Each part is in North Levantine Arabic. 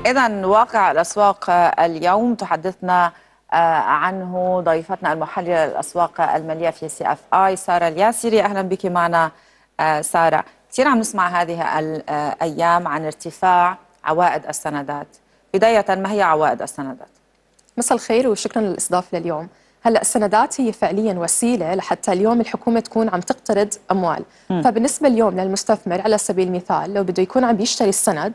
إذن واقع الأسواق اليوم تحدثنا عنه ضيفتنا المحللة للأسواق المالية في CFI سارة الياسري. أهلا بك معنا سارة. كثير عم نسمع هذه الأيام عن ارتفاع عوائد السندات. بداية، ما هي عوائد السندات؟ مساء الخير وشكرا للاستضافة لليوم. هلا السندات هي فعليا وسيله لحتى اليوم الحكومه تكون عم تقترض اموال. فبالنسبه اليوم للمستثمر على سبيل المثال لو بده يكون عم بيشتري السند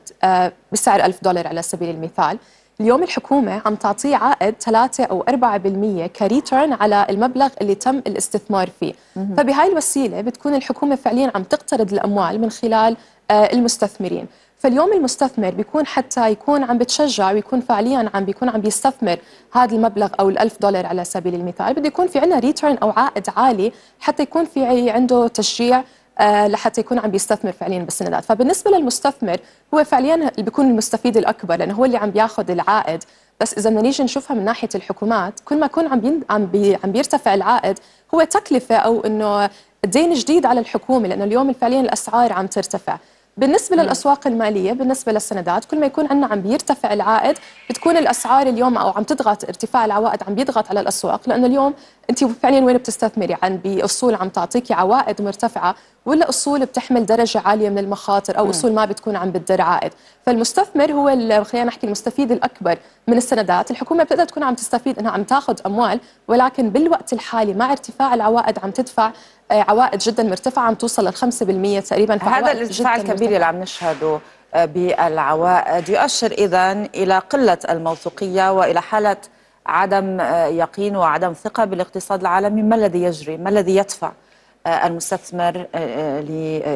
بسعر $1000 على سبيل المثال، اليوم الحكومه عم تعطيه عائد 3 أو 4% كريتيرن على المبلغ اللي تم الاستثمار فيه. فبهاي الوسيله بتكون الحكومه فعليا عم تقترض الاموال من خلال المستثمرين. فاليوم المستثمر بيكون حتى يكون عم بتشجع ويكون فعليا بيكون عم بيستثمر هذا المبلغ او $1000 على سبيل المثال، بده يكون في عندنا ريتيرن او عائد عالي حتى يكون في عنده تشجيع لحتى يكون عم بيستثمر فعليا بالسندات. فبالنسبه للمستثمر هو فعليا اللي بيكون المستفيد الاكبر لانه هو اللي عم بياخذ العائد. بس اذا بدنا نيجي نشوفها من ناحيه الحكومات، كل ما يكون عم بيرتفع العائد هو تكلفه او انه دين جديد على الحكومه، لانه اليوم فعليا الاسعار عم ترتفع. بالنسبة للأسواق المالية بالنسبة للسندات، كل ما يكون عندنا عم بيرتفع العائد بتكون الأسعار اليوم أو عم تضغط، ارتفاع العوائد عم بيضغط على الأسواق، لأنه اليوم أنت فعليا وين بتستثمري؟ عن بأصول عم تعطيكي عوائد مرتفعة ولا أصول بتحمل درجة عالية من المخاطر أو أصول ما بتكون عم بتدر عائد. فالمستثمر هو خلينا نحكي المستفيد الأكبر من السندات. الحكومة بتقدر تكون عم تستفيد إنها عم تاخذ أموال، ولكن بالوقت الحالي مع ارتفاع العوائد عم تدفع عوائد جدا مرتفعة عم توصل لل 5% تقريبا. هذا الارتفاع الكبير اللي عم نشهده بالعوائد يؤشر إذن إلى قلة الموثوقية وإلى حالة عدم يقين وعدم ثقة بالاقتصاد العالمي. ما الذي يجري؟ ما الذي يدفع المستثمر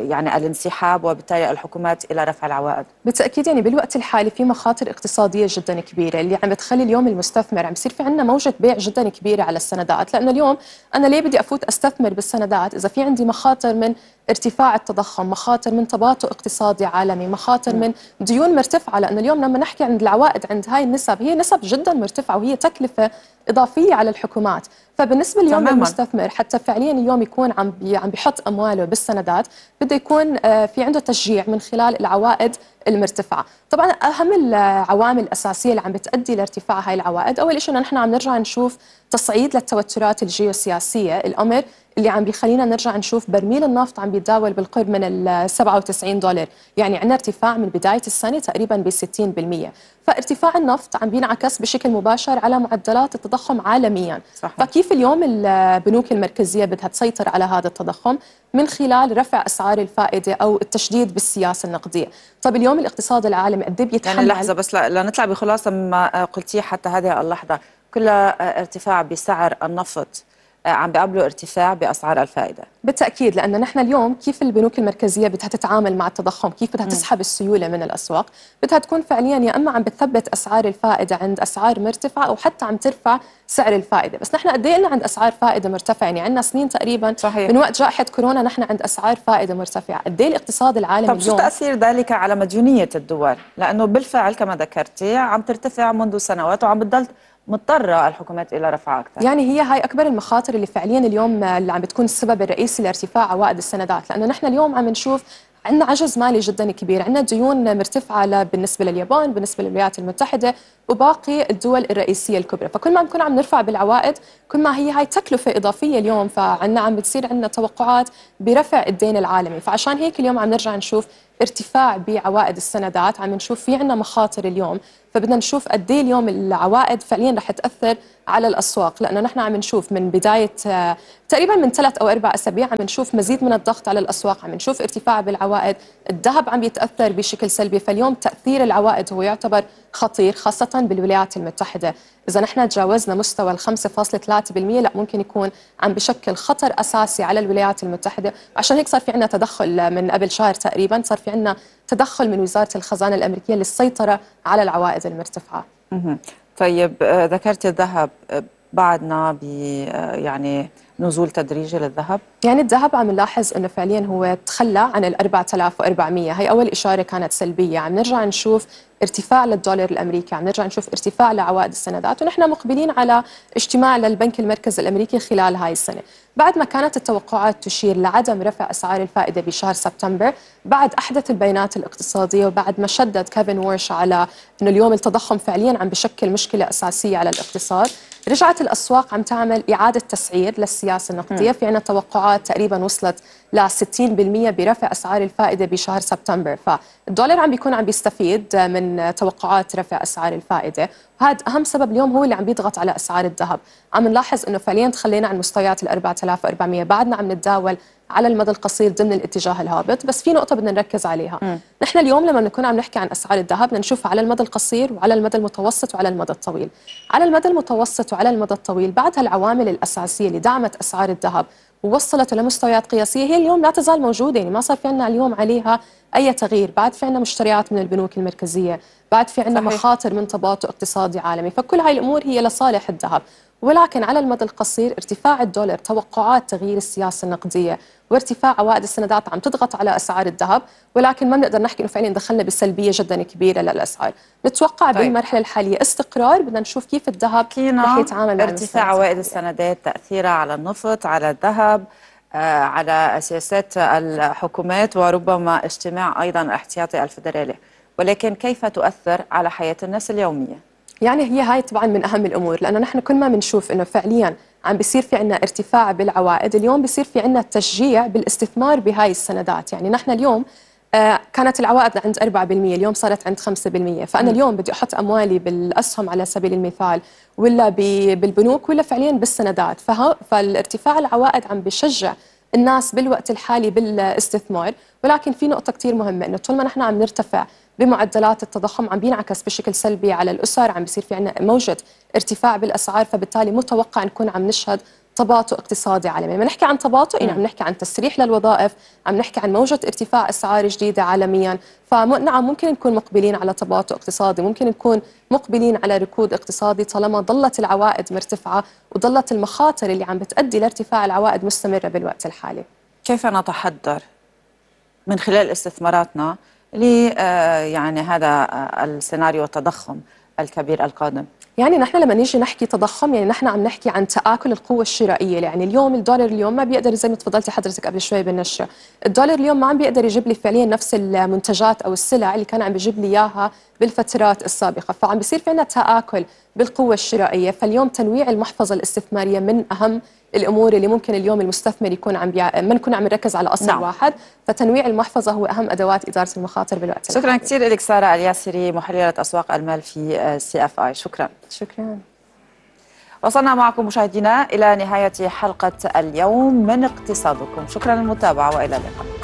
يعني الانسحاب وبالتالي الحكومات إلى رفع العوائد؟ بالتأكيد يعني بالوقت الحالي في مخاطر اقتصادية جدا كبيرة اللي عم بتخلي اليوم المستثمر عم بيصير في عندنا موجة بيع جدا كبيرة على السندات. لأنه اليوم أنا ليه بدي أفوت أستثمر بالسندات إذا في عندي مخاطر من ارتفاع التضخم، مخاطر من تباطؤ اقتصادي عالمي، مخاطر من ديون مرتفعة. لأن اليوم لما نحكي عن العوائد عند هاي النسب هي نسب جدا مرتفعة وهي تكلفة إضافية على الحكومات. فبالنسبة اليوم للمستثمر حتى فعليا اليوم يكون عم بيحط أمواله بالسندات بده يكون في عنده تشجيع من خلال العوائد المرتفعة. طبعا أهم العوامل الأساسية اللي عم بتؤدي لارتفاع هاي العوائد، أول شيء نحن عم نرجع نشوف تصعيد للتوترات الجيوسياسية، الأمر اللي عم بيخلينا نرجع نشوف برميل النفط عم بيتداول بالقرب من $97. يعني عندنا ارتفاع من بداية السنة تقريبا ب 60%. فارتفاع النفط عم بينعكس بشكل مباشر على معدلات التضخم عالميا. صحيح. فكيف اليوم البنوك المركزية بدها تسيطر على هذا التضخم؟ من خلال رفع أسعار الفائدة أو التشديد بالسياسة النقدية. طب اليوم الاقتصاد العالمي قد ايه بيتحمل؟ يعني لحظة بس لنطلع بخلاصة ما قلتيه حتى هذه اللحظة. كل ارتفاع بسعر النفط عم بيقابلوا ارتفاع بأسعار الفائدة. بالتأكيد، لأن نحن اليوم كيف البنوك المركزية بدها تتعامل مع التضخم، كيف بدها تسحب السيولة من الأسواق، بدها تكون فعليا يا إما عم بتثبت أسعار الفائدة عند أسعار مرتفعة أو حتى عم ترفع سعر الفائدة. بس نحن قد ايه لنا عند أسعار فائدة مرتفعة؟ يعني عندنا سنين تقريبا. صحيح. من وقت جائحة كورونا نحن عند أسعار فائدة مرتفعة. قد ايه الاقتصاد العالمي طب اليوم؟ شو تأثير ذلك على مديونية الدول؟ لأنه بالفعل كما ذكرتي عم ترتفع منذ سنوات وعم بتضل مضطرة الحكومات إلى رفعها أكثر. يعني هي هاي أكبر المخاطر اللي فعليا اليوم اللي عم بتكون السبب الرئيسي لارتفاع عوائد السندات. لأنه نحن اليوم عم نشوف عندنا عجز مالي جدا كبير، عندنا ديون مرتفعة بالنسبة لليابان، بالنسبة للولايات المتحدة وباقي الدول الرئيسية الكبرى. فكل ما بنكون عم نرفع بالعوائد كل ما هي هاي تكلفة إضافية اليوم. فعندنا عم بتصير عندنا توقعات برفع الدين العالمي. فعشان هيك اليوم عم نرجع نشوف ارتفاع بعوائد السندات، عم نشوف في عندنا مخاطر اليوم. فبدنا نشوف قد ايه اليوم العوائد فعليا رح تأثر على الأسواق. لأنه نحن عم نشوف من بداية تقريبا من 3 أو 4 أسابيع عم نشوف مزيد من الضغط على الأسواق، عم نشوف ارتفاع بالعوائد، الذهب عم يتأثر بشكل سلبي. فاليوم تأثير العوائد هو يعتبر خطير خاصة بالولايات المتحدة. إذا نحن تجاوزنا مستوى ال 5.3% لا ممكن يكون عم بشكل خطر أساسي على الولايات المتحدة. عشان هيك صار في عنا تدخل من قبل شهر تقريبا، صار في عنا تدخل من وزارة الخزانة الأمريكية للسيطرة على العوائد المرتفعة. طيب ذكرت الذهب، بعدنا يعني نزول تدريجي للذهب؟ يعني الذهب عم نلاحظ انه فعليا هو تخلى عن ال 4400، هي اول اشاره كانت سلبيه. عم نرجع نشوف ارتفاع للدولار الأمريكي، عم نرجع نشوف ارتفاع لعوائد السندات، ونحن مقبلين على اجتماع للبنك المركزي الأمريكي خلال هاي السنة. بعد ما كانت التوقعات تشير لعدم رفع أسعار الفائدة بشهر سبتمبر، بعد أحدث البيانات الاقتصادية وبعد ما شدد كيفن وورش على أنه اليوم التضخم فعليا عم بشكل مشكلة أساسية على الاقتصاد، رجعت الأسواق عم تعمل إعادة تسعير للسياسة النقدية. في عنا توقعات تقريبا وصلت ل 60% برفع أسعار الفائدة بشهر سبتمبر، فالدولار عم بيكون عم بيستفيد من توقعات رفع أسعار الفائدة، وهذا أهم سبب اليوم هو اللي عم بيضغط على أسعار الذهب. عم نلاحظ أنه فعليا تخلينا عن مستويات ال 4400، بعدنا عم نتداول على المدى القصير ضمن الاتجاه الهابط. بس في نقطة بدنا نركز عليها، نحن اليوم لما نكون عم نحكي عن أسعار الذهب بدنا نشوفها على المدى القصير وعلى المدى المتوسط وعلى المدى الطويل. على المدى المتوسط وعلى المدى الطويل بعد هالعوامل الأساسية اللي دعمت أسعار الذهب ووصلته لمستويات قياسية هي اليوم لا تزال موجودة، يعني ما صار في عنا اليوم عليها أي تغيير. بعد في عنا مشتريات من البنوك المركزية، بعد في عنا مخاطر من تباطؤ اقتصادي عالمي، فكل هاي الأمور هي لصالح الذهب. ولكن على المدى القصير ارتفاع الدولار، توقعات تغيير السياسة النقدية وارتفاع عوائد السندات عم تضغط على أسعار الذهب، ولكن ما بنقدر نحكي إنه فعليا دخلنا بسلبية جدا كبيرة للأسعار. نتوقع بالمرحلة الحالية استقرار، بدنا نشوف كيف الذهب رح يتعامل مع ارتفاع عوائد السندات تأثيرها على النفط، على الذهب، على سياسات الحكومات، وربما اجتماع أيضا الاحتياطي الفيدرالي، ولكن كيف تؤثر على حياة الناس اليومية؟ يعني هي هاي طبعا من أهم الأمور، لأنه نحن كل ما بنشوف إنه فعليا عم بيصير في عنا ارتفاع بالعوائد، اليوم بيصير في عنا تشجيع بالاستثمار بهاي السندات. يعني نحن اليوم كانت العوائد عند 4%، اليوم صارت عند 5%، فأنا اليوم بدي أحط أموالي بالأسهم على سبيل المثال ولا بالبنوك ولا فعليا بالسندات، فالارتفاع العوائد عم بشجع الناس بالوقت الحالي بالاستثمار. ولكن في نقطة كتير مهمة، إنه طول ما نحن عم نرتفع بمعدلات التضخم عم بينعكس بشكل سلبي على الأسر، عم بيصير في عنا موجة ارتفاع بالأسعار، فبالتالي متوقع نكون عم نشهد تباطؤ اقتصادي عالمي. لما نحكي عن تباطؤ يعني عم نحكي عن تسريح للوظائف، عم نحكي عن موجة ارتفاع أسعار جديدة عالميا. فنعم ممكن نكون مقبلين على تباطؤ اقتصادي، ممكن نكون مقبلين على ركود اقتصادي طالما ظلت العوائد مرتفعة وظلت المخاطر اللي عم بتؤدي لارتفاع العوائد مستمرة بالوقت الحالي. كيف نتحضر من خلال استثماراتنا ل يعني هذا السيناريو التضخم الكبير القادم؟ يعني نحن لما نيجي نحكي تضخم يعني نحن عم نحكي عن تآكل القوة الشرائية. يعني اليوم الدولار اليوم ما بيقدر، زي ما تفضلتي حضرتك قبل شوي بالنشرة، الدولار اليوم ما عم بيقدر يجيب لي فعليا نفس المنتجات أو السلع اللي كان عم بيجيب لي إياها بالفترات السابقة، فعم بيصير في عنا تآكل بالقوة الشرائية. فاليوم تنويع المحفظة الاستثمارية من أهم الأمور اللي ممكن اليوم المستثمر يكون ما نكون عم نركز على أصل واحد، فتنويع المحفظة هو أهم أدوات إدارة المخاطر بالوقت شكرا الحالي. كثير لك سارة الياسري، محللة أسواق المال في CFI. شكرا. وصلنا معكم مشاهدينا إلى نهاية حلقة اليوم من اقتصادكم. شكرا للمتابعة وإلى اللقاء.